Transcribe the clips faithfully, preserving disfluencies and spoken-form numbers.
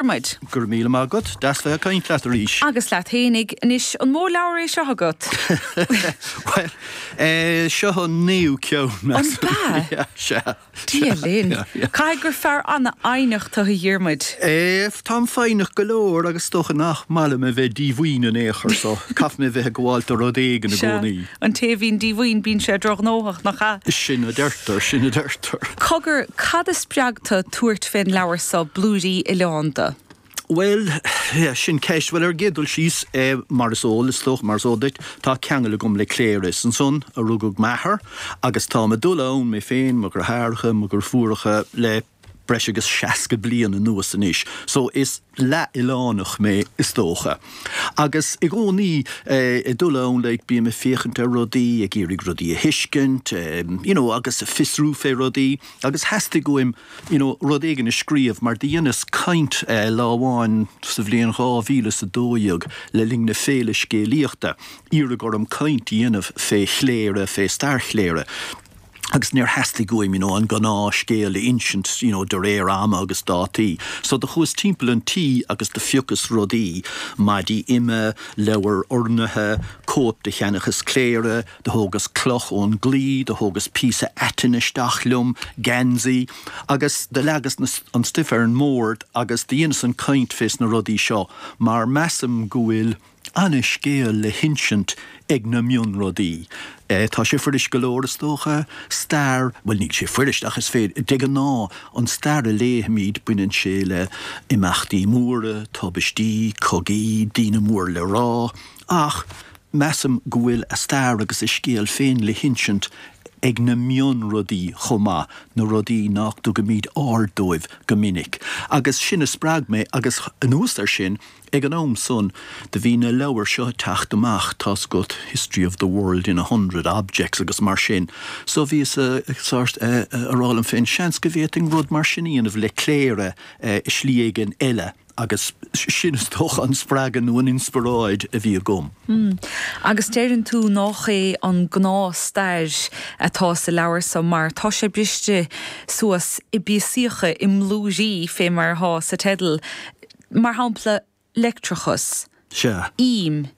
Diarmuid. Go raibh míle maith agat, deas bheith ag caint leat arís. Agus leat fhéinig. Anois, an mó leabhar é seo agat? Bhuel, eh, seo an naoú ceann, measaim. An b'ea? Yeah, sea. Dia linn. Yeah, yeah. Caithfidh gur fear an-fhoighneach tú a Dhiarmuid. Eh, táim foighneach go leor agus is dócha nach maith liom a bheith díomhaoin in aon chor so caithfidh mé a bheith ag gabháil do rud éigin i Sea. gcónaí. An té a bhíonn díomhaoin bíonn sé drochghnóthach, nach ea? Sin a deirtear, sin a deirtear. Cogar, cad a spreag tú tabhairt fén leabhar so, Blúirí Oileánda? Bhuel, yeah, sin ceist. Bhuel, ar an gcéad dul síos, eh, mar is eol, is dócha, mar is eol duit, tá ceangal agam le Cléire. Is ansan a rugadh m'athair agus táim ag dul ann, mé féin, mo dheartháireacha, mo dheirfiúracha, le breis agus seasca bliain anuas anois. So is leath-oileánach mé, is dócha. Agus i gcónaí eh, ag dul ann, like, bím ag féachaint ar rudaí, ag iarraidh rudaí a thuiscint, eh, you know, agus ag fiosrú fé rudaí, agus theastaigh uaim, you know, rud éigin a scríobh, mar do dheineas caint eh, lá amháin sa bhliain dhá mhíle is a dó dhéag le linn na Féile Scéalaíochta, iarradh orm caint a dhéanamh fé Chléire, fé stair Chléire. Agus níor theastaigh uaim, you know, an gnáthscéal a insint, you know, de réir ama agus dátaí. So do chuas timpeall an tí agus do phiocas rudaí, maidí ime, leabhar urnaithe, cóip de Sheanchas Chléire, do thógas cloch ón gclaí, do thógas píosa aitinn isteach liom, geansaí, agus do leagas na, an stuif ar an mbord agus do dheineas an chaint fés na rudaí seo mar measaim go bhfuil ana-scéal le hinsint ag na mionrudaí. Tá sé fuirist go leor, is dócha, stair, bhuel níl sé fuirist ach is féidir, de ghnáth, an stair a léifimid, baineann sé le imeachtaí móra, tubaistí, cogaí, daoine mór le rá, ach measaim go bhfuil a stair agus a scéal féin le hinsint ag na mionrudaí chomh maith, na rudaí nach dtugaimid aird dóibh go minic. Agus sin a spreag mé agus anuas air sin, Ag an am san, do bhí na leabhair seo ag teacht amach, tá's agat, History of the World in a Hundred Objects agus mar sin. So bhíos sórt a rá liom féin, seans go bhféadfainn rud mar sin a dhéanamh le Cléire i slí éigin eile agus sin is dócha an spreagadh nó an inspioráid a bhí agam. Agus deireann tú nách é an gnáth-stair atá sa leabhar so mar tá sé briste suas i bpíosaíocha, i mblúirí fé mar atá sa teideal. Mar shampla, leictreachas, Sea. ím,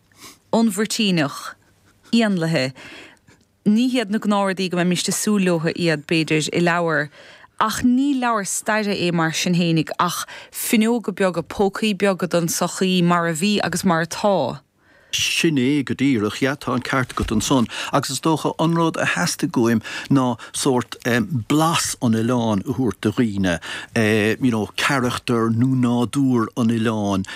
an Mhuirtíneach, éanlaithe. Ní hiad na gnáthrudaí go mbeimíst ag súil leo iad, b'fhéidir, i leabhar. Ach ní leabhar staire é mar sin fhéinig, ach fuinneoga beaga, pócaí beaga don tsochaí mar a bhí agus mar atá. Sin é go díreach, yeah, tá an ceart agat ansan. Agus is dócha an rud a theastaigh uaim ná sórt blas an oileáin a thabhairt do dhaoine, you know, carachtar nó nádúr an oileáin,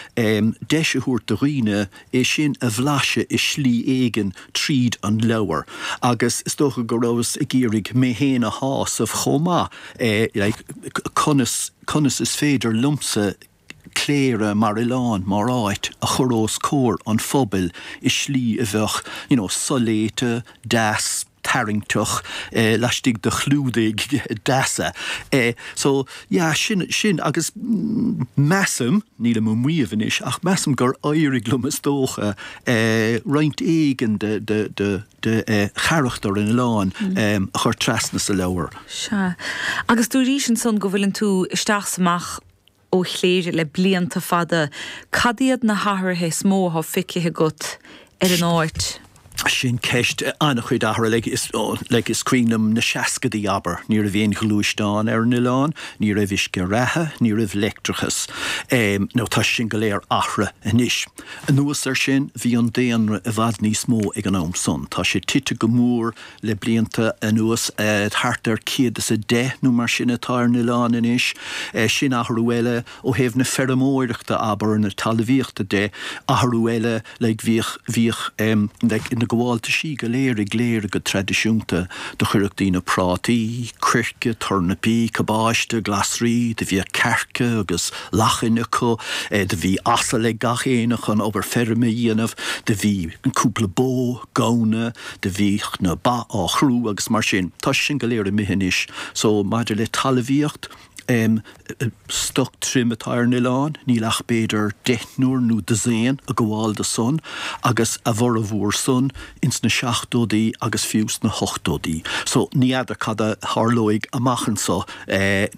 deis a thabhairt do dhaoine é sin a bhlaiseadh i slí éigin tríd an leabhar. Agus is dócha go rabhas ag iarraidh mé féin a shásamh chomh maith, like, conas, conas is féidir liomsa Cléire mar oileán, mar áit, a chur os comhair an phobail i slí a bheadh, you know, soléite, deas, tarraingteach, laistigh de chlúdaigh deasa. So, yeah, sin, sin agus measaim, nílim ag maíomh anois, ach measaim gur éirigh liom is dócha roinnt éigin de, de, de, de charachtar an oileáin a chur trasna sa leabhar. Sea. Agus dúraís ansan go bhfuileann tú isteach 's amach ó Chléire le blianta fada. Cad iad na hathruithe is mó atá feicthe agat ar an áit? Sin ceist. An-chuid athruithe. Like, is, like, is cuimhin liom na seascadaí, abair. Ní raibh aon ghluaisteán ar an oileán, ní raibh uisce reatha, ní raibh leictreachas. Now tá sin go léir athraithe anois. Anuas air sin, bhí an daonra i bhfad níos mó ag an am san. Tá sé tite go mór le blianta anuas, thart ar céad is a deich nó mar sin atá ar an oileán anois. Sin athrú eile ó thaobh na feirmeoireachta, abair, na talmhaíochta de, athrú eile, like bhíodh, bhíodh like na gabháltaisí go léir i gCléire go traidisiúnta, do chuireadh daoine prátaí, coirce, tornapaí, cabáiste, glasraí, do bhíodh cearca agus lachain acu, do bhí asal ag gach éinne chun obair feirme a dhéanamh, do bhí cúpla bó, gamhna, do bhíodh na ba á chrú agus mar sin. Tá sin go léir imithe anois. So maidir le talmhaíocht, Stoc tirim atá ar an oileán, níl ach b'fhéidir deichniúr nó dosaen ag gabháil do san agus a bhformhór san ins na seachtóidí agus fiú sna hochtóidí. So ní fheadar cad a tharlóidh amach anso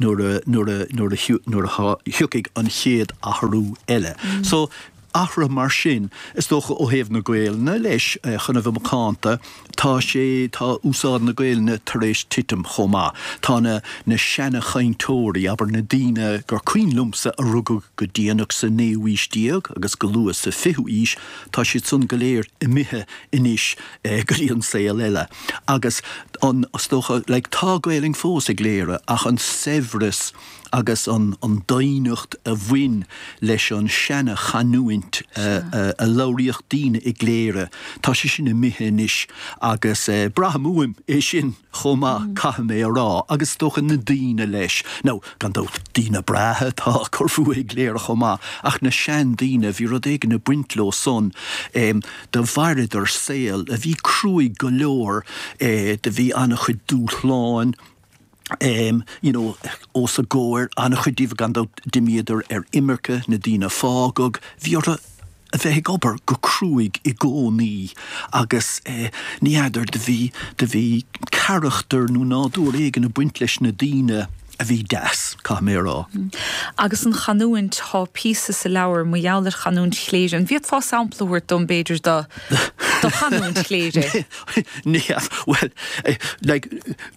nuair a nuair a nuair a nuair a thiocfaidh an chéad athrú eile. So athruithe mar sin, is dócha ó thaobh na Gaelainne leis, chun a bheith macánta, tá sé, tá úsáid na Gaelainne tar éis titim chomh maith. Tá na, na seana-chainteoirí, abair na daoine gur cuimhin liomsa a rugadh go déanach sa naoú aois déag agus go luath sa fichiú aois, tá siad san go léir imithe anois go dtí an saol eile. Agus an, is dócha, like, tá Gaelainn fós i gCléire ach an saibhreas, agus an doimhneacht a bhain leis an seana-chanúint a labhraíodh daoine i gCléire, tá sé sin imithe anois agus braithim uaim é sin chomh maith, caithfidh mé a rá, agus is dócha na daoine leis. Now, gan dabht, daoine breátha atá ag cur fúthu i gCléire chomh maith, ach na seandaoine, bhí rud éigin ag baint leo san, do mhaireadar saol a bhí cruaidh go leor, do bhí an-chuid dúshláin, em, you know, os a gcomhair, an-chuid díobh gan dabht d'imíodar ar imirce, na daoine a fágadh, bhí orthu a bheith ag obair go cruaidh i gcónaí agus eh, ní fheadar, do bhí, do bhí carachtar nó nádúr éigin ag baint leis na daoine a bhí deas, caithfidh mé a rá. Agus an chanúint, tá píosa sa leabhar mar gheall ar chanúint Chléire. An bhféadfá sampla a thabhairt dom, b'fhéidir, do do chanúint Chléire? Ní, bhuel, like,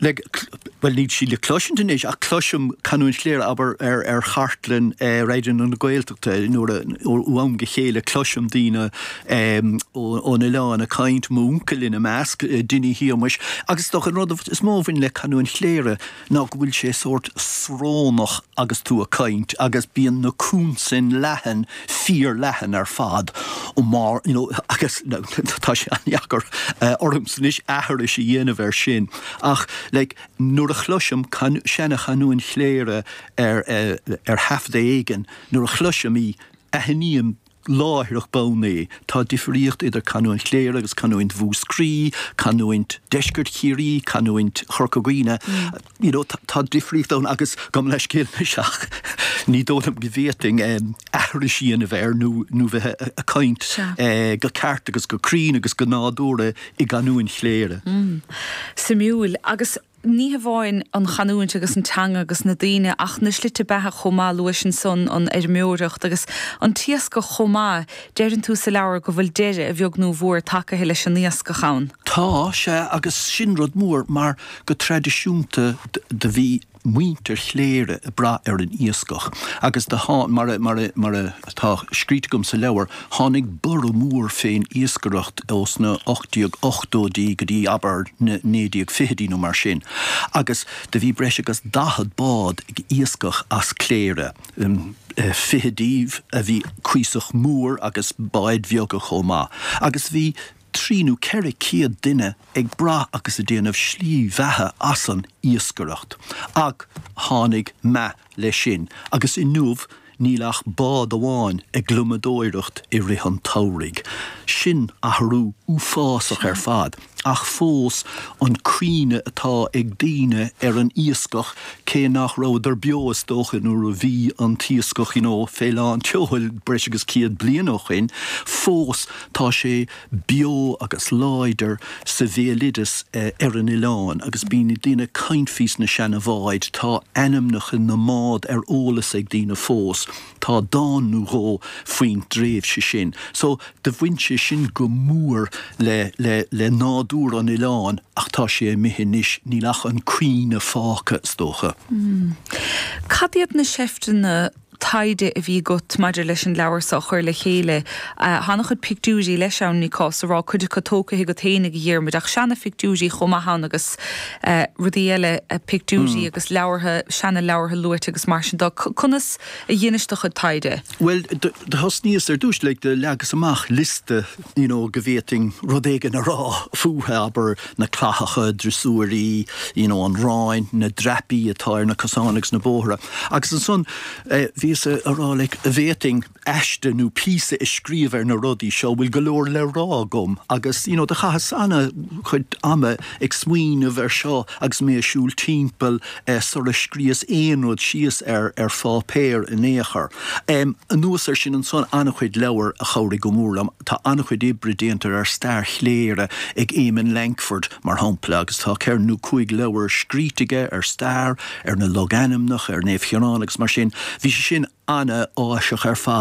like, bhuel, níl sí le cloisint anois, ach cloisim canúint Chléire, abair, ar, ar chartlann Raidió na Gaeltachta, nuair a, ó am go chéile, cloisim daoine ón oileán ag caint, m'uncail ina measc, Dinny Shéamuis, agus is dócha an rud is mó a bhain le canúint Chléire ná go bhfuil sé sórt srónach agus tú ag caint agus bíonn na consain leathan, fíor-leathan ar fad ó mar, you know, agus tá sé an-deacair ormsa anois aithris a dhéanamh air sin ach like nuair a chloisim seana-chanúint Chléire ar ar thaifeadadh éigin, nuair a chloisim í, aithním láithreach bonn é. Tá difríocht idir canúint Chléire agus canúint Mhúscraí, canúint Deisceart Chiarraí, canúint Chorca Dhuibhne. You know, tá difríocht ann agus gabh mo leithscéal anois ach ní dóigh liom go bhféadfainn aithris a dhéanamh air nó nó bheith ag caint go ceart agus go cruinn agus go nádúrtha i gcanúint Chléire. Suimiúil. Agus Ní hamháin an chanúint agus an teanga agus na daoine ach na slite beatha chomh maith, luais ansan an fheirmeoireacht agus an t-iascach chomh maith. Deireann tú sa leabhar go bhfuil deireadh, a bheag nó a mhór, tagaithe leis an iascach ann. Tá, sea, agus sin rud mór mar go traidisiúnta do bhí muintir Chléire ag brath ar an iascach agus do thá, mar a, mar a, mar atá scríte agam sa leabhar, tháinig borradh mór fén iascaireacht ós na ocht déag ochtóidí go dtí, abair, na naoi déag fichidí nó mar sin agus do bhí breis agus daichead bád ag iascach as Cléire, fiche díobh a bhí cuíosach mór agus báid bheaga chomh maith agus bhí trí nó ceithre céad duine ag brath agus ag déanamh slí bheatha as an iascaireacht. Ach tháinig meath leis sin agus inniu níl ach bád amháin ag gliomadóireacht i rith an tsamhraidh. Sin athrú uafásach ar fad. Ach fós an cuimhne atá ag daoine ar an iascach, cé nach rabhadar beo is dócha nuair a bhí an t-iascach you know fé lán tseoil breis agus céad bliain ó shin, fós tá sé beo agus láidir sa bhéaloideas ar an oileán agus bíonn daoine ag caint faoi sna seana-bháid, tá ainmneacha na mbád ar eolas ag daoine fós. Tá dán nó dhó faoin dtréimhse sin. So, do bhain sé sin go mór le, le, le nádúr an oileáin ach tá sé imithe anois, níl ach an cuimhne fágtha, is dócha. Cad iad na seifteanna taighde a bhí agat maidir leis an leabhar seo a chur le chéile? Tá an-chuid pictiúirí leis ann, ní cás a rá, cuid acu tógtha agat fhéinig, a Dhiarmuid, ach seana-phictiúirí chomh maith ann agus rudaí eile, pictiúirí agus leabhartha, seana-leabhartha luaite agus mar sin de. Conas a dheinis do chuid taighde? Bhuel, do thosnaíos ar dtús, like, do leagas amach liosta, you know, go bhféadfainn rud éigin a rá fúthu, abair, na clathacha, drosúirí, you know, an Ráin, na dreapaí atá ar na cosáin agus na bóithre. Agus ansan, eh, bhíos Bhíos a rá like an bhféadfainn aiste nó píosa a scríobh ar na rudaí seo bhfuil go leor le rá agam agus you know, do chaitheas an-chuid ama ag smaoineamh ar seo agus mé ag siúl timpeall eh, sula scríos aon rud síos ar ar pháipéar in aon chor. Um, anuas air sin ansan an-chuid leabhar a chabhraigh go mór liom tá an-chuid oibre déanta ar stair Chléire ag Eamon Lankford mar shampla agus tá ceithre nó cúig leabhar scríte aige ar stair ar na logainmneacha ar Naomh Chiarán agus mar sin bhí sé sin an-áiseach ar fad.